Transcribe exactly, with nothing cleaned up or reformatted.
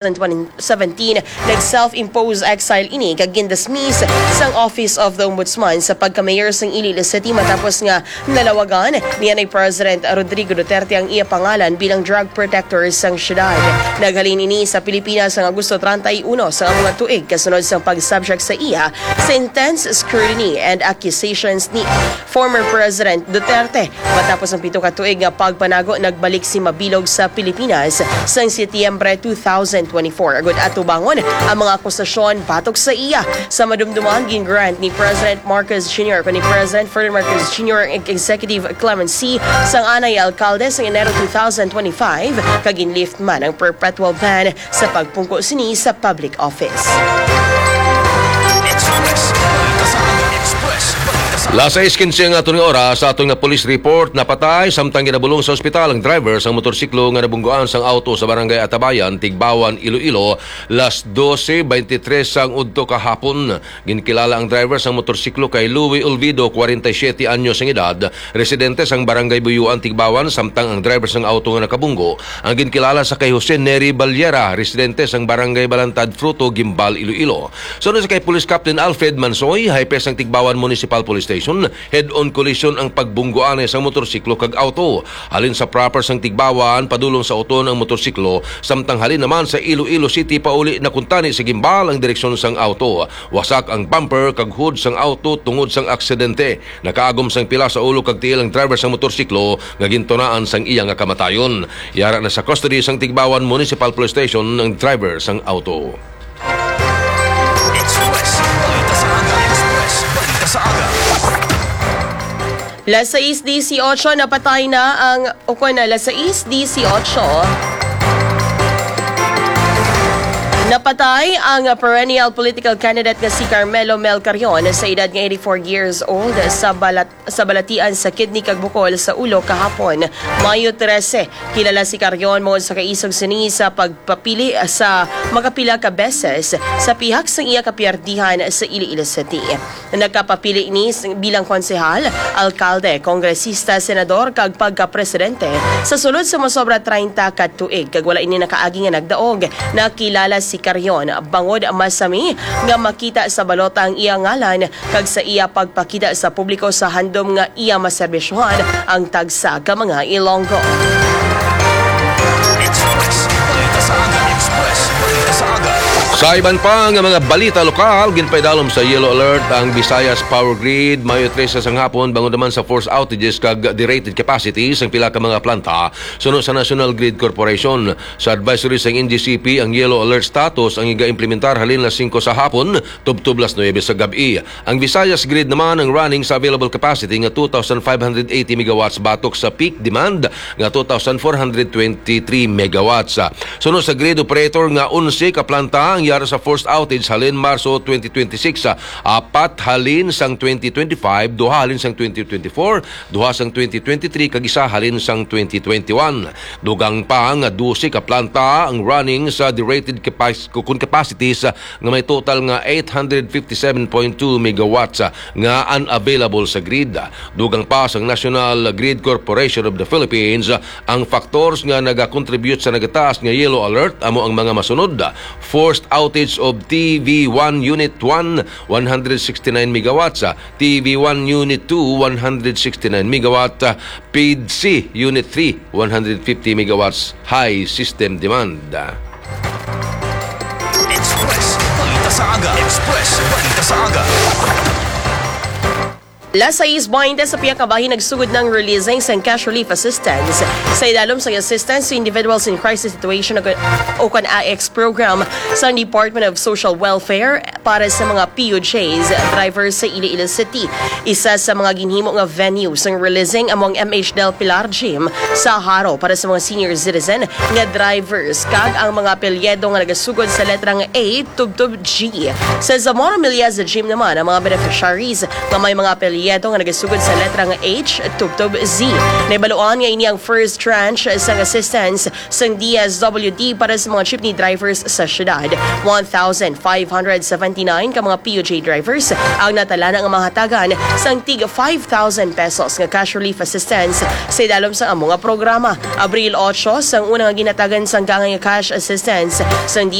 twenty seventeen, nag-self-imposed exile ini kag gindismiss sang Office of the Ombudsman sa pagka-mayor sang Iloilo City matapos nga nalawagan niya ni President Rodrigo Duterte ang iya pangalan bilang drug protector sang syudad. Naghalin ini sa Pilipinas sang Agosto treinta y uno sang amo nga tuig kasunod sang pag-subject sa iya sa intense scrutiny and accusations ni former President Duterte. Matapos ang pito ka tuig nga pagpanago, nagbalik si Mabilog sa Pilipinas sang Setyembre two thousand twenty-four, agud atubangon ang mga akusasyon batok sa iya. Sa madumduman, gin-grant ni President Marcos Junior kuno ni President Ferdinand Marcos Junior ang executive clemency sang anay alkalde sa Enero two thousand twenty-five, kag gin-lift man ang perpetual ban sa pagpungko sini sa public office. Las sais quince ang aton nga oras. Sa aton nga police report, napatay samtang ginabulong sa ospital ang driver sang motorsiklo nga nabungguan sang auto sa Barangay Atabayan, Tigbawan, Iloilo, las doce veintitrés sang udto kahapon. Ginkilala ang driver sang motorsiklo kay Louie Olvido, kwarenta y siyete anyos ang edad, residente sang Barangay Buyuan, Tigbawan, samtang ang driver sang auto nga nakabunggo ang ginkilala sa kay Jose Neri Baliera, residente sang Barangay Balantad Fruto, Guimbal, Iloilo. Suno sa kay Police Captain Alfred Mansoy, hepe sang Tigbawan Municipal Police Station, head-on collision ang pagbungguanay sang motorsiklo kag auto. Halin sa proper sang Tigbawan, padulong sa Oton ang motorsiklo, samtang halin naman sa Iloilo City pauli na kuntani sa Guimbal ang direksyon sang auto. Wasak ang bumper kag hood sang auto tungod sang aksidente. Nakaagom sang pila sa ulo kag tiil ang driver sang motorsiklo nga gintunaan sang iya nga kamatayon. Yara na sa custody sang Tigbawan Municipal Police Station ang driver sang auto. Express. Balita sa aga. Express. Balita sa aga. Las sais dieciocho, napatay na ang, o kon na, las sais dieciocho. Napatay ang perennial political candidate nga si Carmelo Mel Carrion sa edad nga eighty-four years old sa balat sa balatian sa kidney kag bukol sa ulo kahapon, Mayo trese. Kilala si Carrion mo sa kaisog sini sa pagpapili sa makapila ka beses sa pihak sang iya kapiyerdihan sa Iloilo City. Nagkapapili ini s- bilang konsehal, alkalde, kongresista, senador kag pagkapresidente sa sulod sa mosobra treinta ka tuig, kag wala ini nakaagi nga nagdaog. Nakilala si Carrion bangod masami nga makita sa balota ang iya ngalan kag sa iya pagpakita sa publiko sa handom nga iya maserbisyohan ang tagsa ka mga Ilonggo. Express. Balita sa aga. Express. Balita sa aga. Sa iban pa nga mga balita lokal, ginpaidalom sa yellow alert ang Visayas Power Grid, Mayo trese sang hapon, bangod naman sa forced outages kag derated capacity sang pila ka mga planta suno sa National Grid Corporation. Sa advisory sang N G C P, ang yellow alert status ang iga-implementar halin las singko sa hapon tubtob las nuebe sa gab-i. Ang Visayas Grid naman ang running sa available capacity nga two thousand five hundred eighty megawatts batok sa peak demand nga two thousand four hundred twenty-three megawatts. Suno sa grid operator nga onse ka planta ang yara sa forced outage halin Marso twenty twenty-six, apat halin sang twenty twenty-five, duha halin sang twenty twenty-four, duha sang twenty twenty-three, kag isa halin sang twenty twenty-one. Dugang pa nga dose ka planta ang running sa derated capac- kun capacities nga may total nga eight hundred fifty-seven point two megawatts nga unavailable sa grid. Dugang pa sang National Grid Corporation of the Philippines, ang factors nga nagakontribute sa nagataas nga yellow alert amo ang mga masunod: forced outage of T V one Unit one, one hundred sixty-nine megawatts, T V one Unit two, one hundred sixty-nine megawatt, P I D C Unit three, one hundred fifty megawatts high system demand. Express Balita sa Aga. Express Balita sa Aga. Las sais baynte sa pihak nga bahin nagsugod na ang releasing sang cash relief assistance sa idalom sang Assistance to Individuals in Crisis Situation o kon A I C S program sa Department of Social Welfare para sa mga P U Js drivers sa Iloilo City. Isa sa mga ginhimo nga venue sang releasing amo ang M H Del Pilar Gym sa Jaro para sa mga senior citizen nga drivers kag ang mga apelyido nga nagasugod sa letrang A tubtob G. Sa Zamora Millasa Gym naman, ang mga beneficiaries nga may mga apelyido Yeto nga nagasugod sa letra nga H, tubtob Z. Nahibaluan nga ini ang first tranche sang assistance sang D S W D para sa mga jeepney drivers sa syudad. One thousand five hundred seventy-nine ka mga P U J drivers ang natalana nga mahatagan sang tig five thousand pesos nga cash relief assistance sa idalom sang amo nga programa. Abril otso sang una nga ginhatagan sang gangay nga cash assistance sang